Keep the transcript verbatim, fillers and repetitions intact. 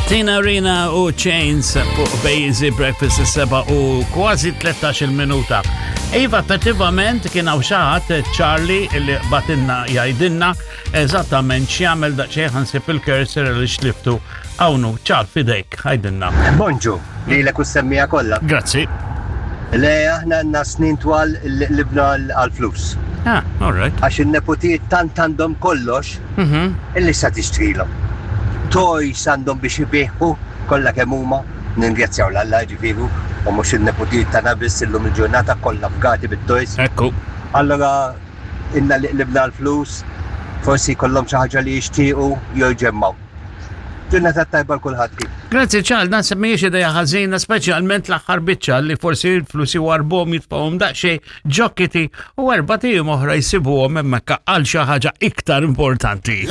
Tina Arena u Chains fuq Bejzi Breakfast, is-sebgħa u kważi tlettax-il minuta. Iva, effettivament kien hawn xi ħadd, Charlie, li bagħtilna jgħidilna eżattament x'jagħmel. Daqsxejn ħa nsib il-cursor li xliftu. Hawnhu, Charlie, f'idejk, għidilna. Bonġu, lilek u s-semmiegħa kollha. Grazzi. Le, aħna għandna snin twal li qlibna għal-flus. Ah, all right. Għax il-nepotijiet tant għandhom kollox Mhm. illi sa tixtrilhom. Toys għandhom biex ibiħu kollha kemm huma, ningrazzjaw 'l Alla ġifieri, u mhux il-nepotijiet tagħna biss, illum il-ġurnata kollha fgati bit-toys. Ekku. Allora inna li qlibna l-flus, forsi jkollhom xi ħaġa li jixtiequ jew jġemmgħu. Ġurnata tajba 'l kulħadd. Grazzi, Charles, naħseb mhijiex ideja ħażina, speċjalment l-aħħar biċċa, li forsi l-flus jwarbhom, jitfgħuhom daqsxejn ġo kitty u erbat ijiem oħra jsibuhom hemmhekk għal xi ħaġa iktar importanti.